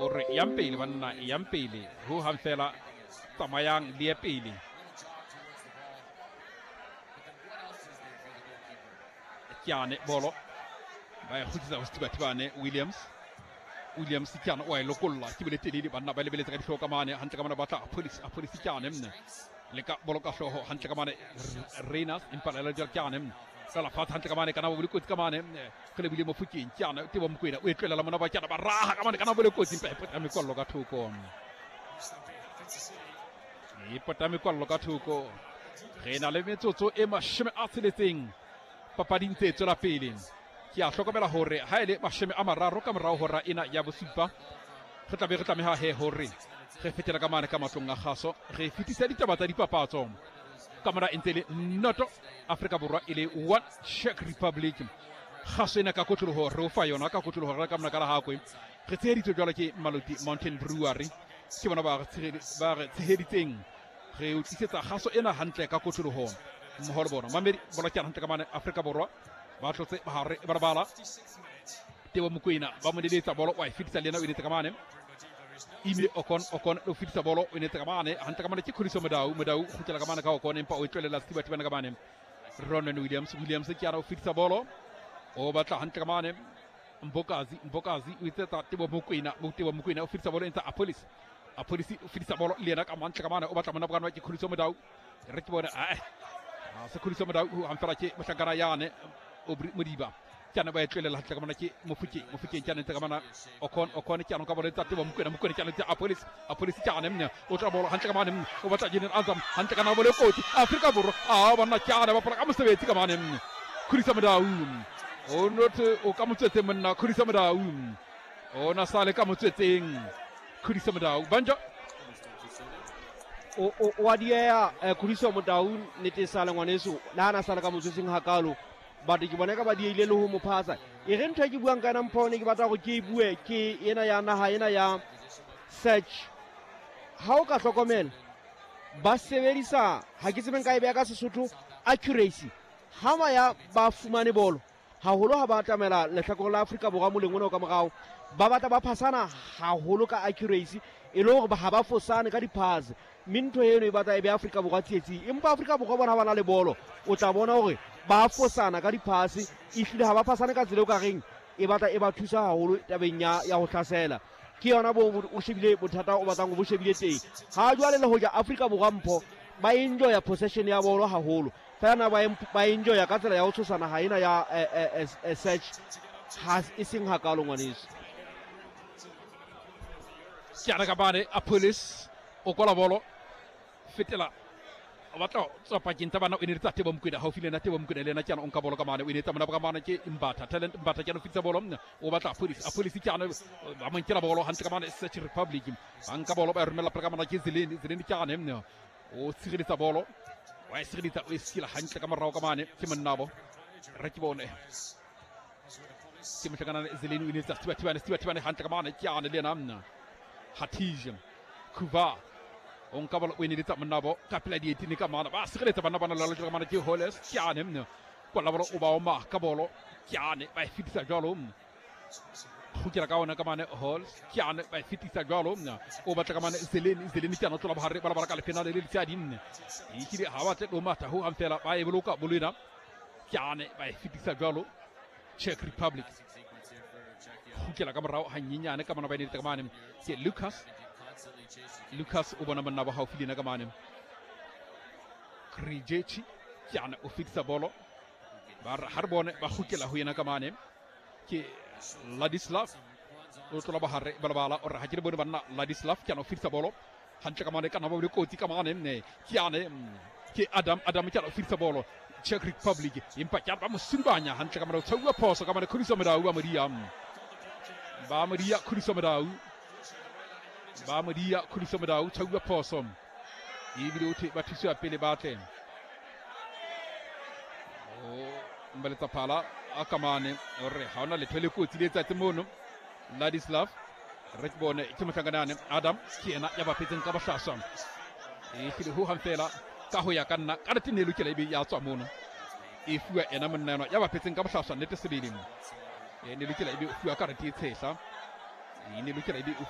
O re yang pele banna, yang pele ho hang fela, tsamayang le ye pele. Kyane bolo ba e kgutlisa ho Sethibathibane. Williams, Williams Kyane o a e lokolla, ke bole telele, banna ba lebeletse ka dihlooho ka mane hantle ka mane, batla Police, a Police Kyane mne le ka bolo ka hlooho hantle ka mane Reyners, empa la le Kyane mne ka la fatshe hantle ka mane, kana bo le kotsi ka mane, re lebile Mofokeng. Kyane Tebo Mokwena o e tlohela mona ba Kyane ba raha ka mane, kana bo le kotsi, empa e pota mekwallo ka thoko, e pota mekwallo ka thoko. Re na le metsotso e 60 papading tse tswela pele. Ke a hlokomela hore ha e le 30 ka morao hora ena ya bosupa, re tlabe re tlameha he hore re fetela ka mane ka matlong a kgaso, re fetisa ditaba tsa dipapatso. Ka mona e ntse le 0 Afrika Borwa e le 1 Czech Republic. Kgaso ena ka kotloloho re o fa yona ka kotloloho re ka mona ka Lahakwe. Re tsheheditswe jwalo ke Maloti Mountain Brewery, ke bona ba re tsheheditseng, re o tlisetsa kgaso ena hantle ka kotloloho mmoho le bona. Mamedi bola ke hantle ka mane Afrika Borwa ba tlotse bahare ba bala Tebo Mokwena ba mo neletsa bolo, wa e fetisa le yena o enetse ka mane Ime Okon, Okon o fetisa bolo o enetse ka mane hantle ka mane ke Khuliso Modau, Modau kgutlela ka mane ka Okon, empa o e tlohela Sethibathibane ka mane Ronan Williams, Williams ke yana o fetisa bolo o batla hantle ka mane Mbokazi, Mbokazi o etsetsa Tebo Mokwena, Tebo Mokwena o fetisa bolo e ntse Apolis, Apolis o fetisa bolo le yena ka mantle ka mane o batla mona bokana ke Khuliso Modau, re ke bone a se Khuliso Modau ho hamfela ke mohlankana yane Aubrey Modiba. Kyane ba e tlohela hantle ka mona ke Mofokeng, Mofokeng kyane ntse ka mona Okon, Okon kyane ka bolo tsa Tebo Mokwena, Mokwena kyane ntse Apolis, Apolis kyane mne o tla bolo hantle ka mane mne o batla Jenen Azam hantle ka na bolo kotsi Afrika Borwa a banna kyane ba pala ka mosebetsi ka mane mne Khuliso Modau o note o ka motswetseng monna Khuliso Modau o na sale ka motswetseng Khuliso Modau banjo o a dieha Khuliso Modau nete sale ngwaneso le ha na sale ka motswetseng hakalo, batho ke bona ka ba dieile le ho mo phasa. E re ntho e ke buang ka yona mpho ne ke batla hore ke e bue ke ena ya naha ena ya search. Ha o ka hlokomela ba sebedisa, ha ke tsebe nka e beha ka Sesotho, accuracy. Ha ba ya ba fumane bolo haholo ha ba atamela lehlakore la Afrika Borwa moleng ona o ka morao, ba batla ba phasana haholo ka accuracy, e le hore ha ba fosane ka diphase, mme ntho eno e batla e be Afrika Borwa tsietsing. Empa Afrika Borwa bona ha ba na le bolo, o tla bona hore ba fosana ka diphase, ehlile ha ba phasane ka tsela o ka reng e batla e ba thusa haholo tabeng ya ho hlasela. Ke yona bo o shebile bothata o batlang o bo shebile teng. Ha jwale le hoja Afrika Borwa mpho ba enjoya possession ya bolo haholo, fela na ba enjoya ka tsela ya ho tshosa naha ena ya search ha e seng hakalo ngwaneso. Ke ana ka mane Apolis o kola bolo fetela o batla tswa pakeng tsa bana o eneletsa Tebo Mokwena haufi le yena. Tebo Mokwena le yena ke ana o nka bolo ka mane o enetsa mona ka mane ke Mbatha, Talent Mbatha ke ana o fetisa bolo o batla Apolis, Apolis ke ana ba mo nkela bolo hantle ka mane Czech Republic ba nka bolo ba e romella pele ka mane ke Zeleni, Zeleni ke ane o tshireletsa bolo wa e sireletsa o e sila hantle ka morao ka mane ke monnabo re ke bone ke mohlakana Zeleni o enetsa Sethibathibane, Sethibathibane hantle ka mane ke ane le yena Hatij Kuva o nka bolo o eneletsa monnabo ka pela dietini ka mane ba sireletsa banna bana lalo ka mane ke Holles ke ane mne kwa la bolo o ba oma ka bolo ke ane ba e fetisa jwalo kgutlela ka ona ka mane Halls ke ane ba e fetisa jwalo o batla ka mane Zeleni, Zeleni ke ane o tlola bohare ba bala ka lefena le le letshadi nne ehlile ha batle lo matha ho hang fela ba e boloka bolo ena ke ane ba e fetisa jwalo Czech Republic kgutlela ka morao hanyenyane ka mona ba eneletsa ka mane ke Lucas, Lucas o bona monna ba haufi le yena ka mane Krijechi ke ane o fetisa bolo ba re ha re bone ba kgutlela ho yena ka mane ke Ladislav o tlola bohare ba lebala o re ha ke le bone banna Ladislav ke ane o fetisa bolo hantle ka mane ka nna ba le kotsi ka mane nne ke ane ke Adam, Adam ke ane o fetisa bolo Czech Republic empa ke ba mo surubanya hantle ka mane o tshauwa phoso ka mane Khuliso Modau ba modia ba modia Khuliso Modau ba modia Khuliso Modau tshauwa phoso ebile o ba thusiwa pele ba tle o mbaletsa phala a kamane re ha ona letho le kotsi le tsatsi mono Ladislav re ke bone ke mohlankana Adam ke yena ya bapetseng ka bohlaswa e hlile ho hang fela ka ho ya ka nna ka nnete ne lokela ebe ya tswa mono e fuwa ena monna enwa ya bapetseng ka bohlaswa nnete sebele e ne lokela ebe o fuwa karete e tshehla e ne lokela ebe o